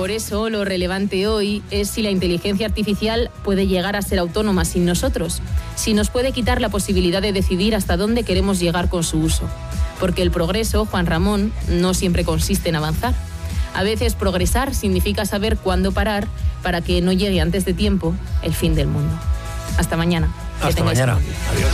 Por eso, lo relevante hoy es si la inteligencia artificial puede llegar a ser autónoma sin nosotros, si nos puede quitar la posibilidad de decidir hasta dónde queremos llegar con su uso. Porque el progreso, Juan Ramón, no siempre consiste en avanzar. A veces progresar significa saber cuándo parar para que no llegue antes de tiempo el fin del mundo. Hasta mañana. Hasta mañana. Adiós.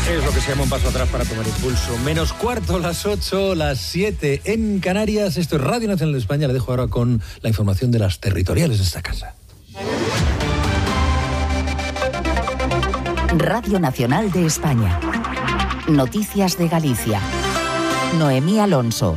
Es lo que se llama un paso atrás para tomar impulso. Menos cuarto, las 8, las 7 en Canarias. Esto es Radio Nacional de España. Le dejo ahora con la información de las territoriales de esta casa. Radio Nacional de España. Noticias de Galicia. Noemí Alonso.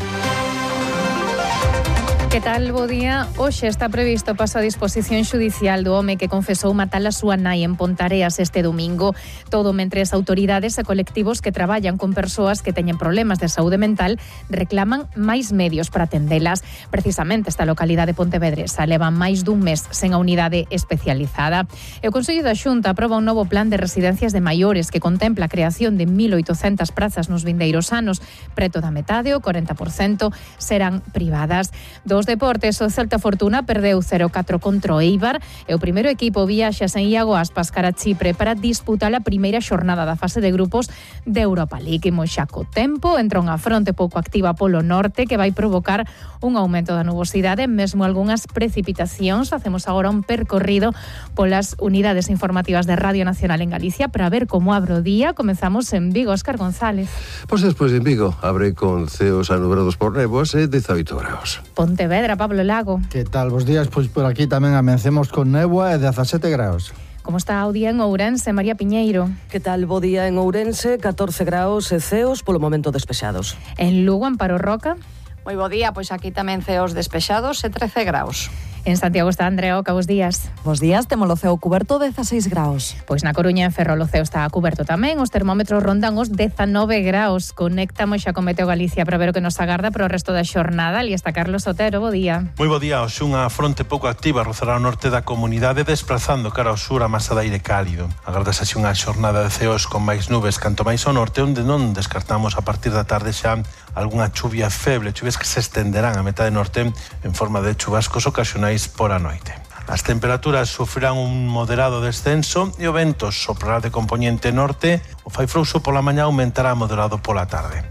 Que tal, bo día? Hoxe está previsto paso a disposición xudicial do home que confesou matar a súa nai en Pontareas este domingo. Todo mentre as autoridades e colectivos que traballan con persoas que teñen problemas de saúde mental reclaman máis medios para atendelas. Precisamente esta localidade pontevedresa leva máis dun mes sen a unidade especializada. E o Consello da Xunta aproba un novo plan de residencias de maiores que contempla a creación de 1.800 prazas nos vindeiros anos. Preto da metade, o 40%, serán privadas. Dos deportes, o Celta Fortuna perdeu 0-4 contra o Eibar e o primeiro equipo viaxa sen Iago Aspas cara a Chipre para disputar a primeira xornada da fase de grupos de Europa League. Imos xa co tempo, entra unha fronte pouco activa polo norte que vai provocar un aumento da nubosidade, mesmo algunhas precipitacións. Facemos agora un percorrido polas unidades informativas de Radio Nacional en Galicia para ver como abre o día. Comezamos en Vigo, Óscar González. Pois despois en Vigo abre con ceos anubrados por néboas e 18 graus. Pontevedra, Pablo Lago. Que tal, bos días? Pois por aquí tamén amencemos con néboa e 17 graus. Como está o día en Ourense, María Piñeiro? Que tal, bo día en Ourense, 14 graus e ceos polo momento despexados. En Lugo, Amparo Roca? Moi bo día, pois aquí tamén ceos despexados e 13 graus. En Santiago está Andrea Oca, bos días. Bos días, temos o ceo cuberto 16 graus. Pois na Coruña en Ferrol o ceo está cuberto tamén, os termómetros rondan os 19 graus. Conectamos xa con Meteo Galicia para ver o que nos agarda para o resto da xornada. Ali está Carlos Otero, bo día. Moi bo día, hoxe unha fronte pouco activa rozará o norte da comunidade desplazando cara ao sur a masa de aire cálido. Agardas así unha xornada de ceos con máis nubes canto máis ao norte, onde non descartamos a partir da tarde xa algunha chuvia feble, chuvias que se estenderán a metade norte en forma de chubascos ocasionais por a noite. As temperaturas sufrirán un moderado descenso e o vento soprará de compoñente norte, o fai frouxo pola mañá aumentará moderado pola tarde.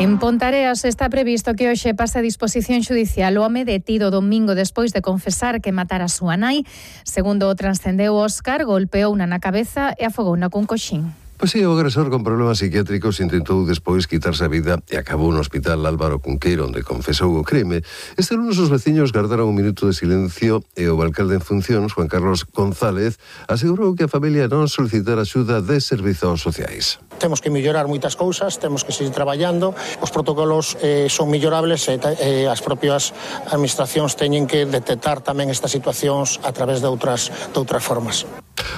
En Pontareas está previsto que hoxe pase a disposición xudicial o home detido domingo despois de confesar que matara a súa nai. Segundo o transcendeu Óscar, golpeouna na cabeza e afogouna cun coxín. Pois sí, o agresor con problemas psiquiátricos intentou despois quitarse a vida e acabou no hospital Álvaro Cunqueiro, onde confesou o crime. Este lunes os veciños gardaron un minuto de silencio e o alcalde en funcións, Juan Carlos González, asegurou que a familia non solicitara axuda de servizos sociais. Temos que mellorar moitas cousas, temos que seguir traballando, os protocolos son mellorables e as propias administracións teñen que detectar tamén estas situacións a través de outras formas.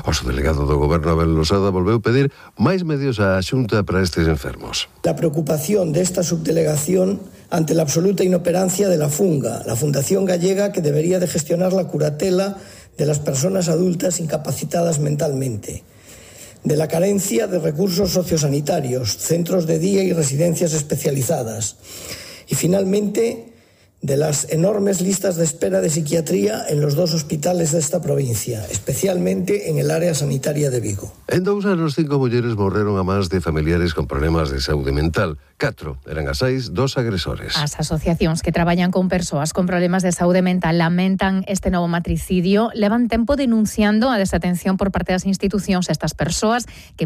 O subdelegado do Goberno Abel Losada volveu pedir máis medios á Xunta para estes enfermos. La preocupación de esta subdelegación ante la absoluta inoperancia de la FUNGA, la Fundación Gallega que debería de gestionar la curatela de las personas adultas incapacitadas mentalmente, de la carencia de recursos sociosanitarios, centros de día y residencias especializadas, y finalmente de las enormes listas de espera de psiquiatría en los dos hospitales de esta provincia, especialmente en el área sanitaria de Vigo. En 2 anos, 5 mulleres morreron a mans de familiares con problemas de saúde mental. 4 eran as 6 dos agresores. As asociacións que traballan con persoas con problemas de saúde mental lamentan este novo matricidio. Levan tempo denunciando a desatención por parte das institucións a estas persoas que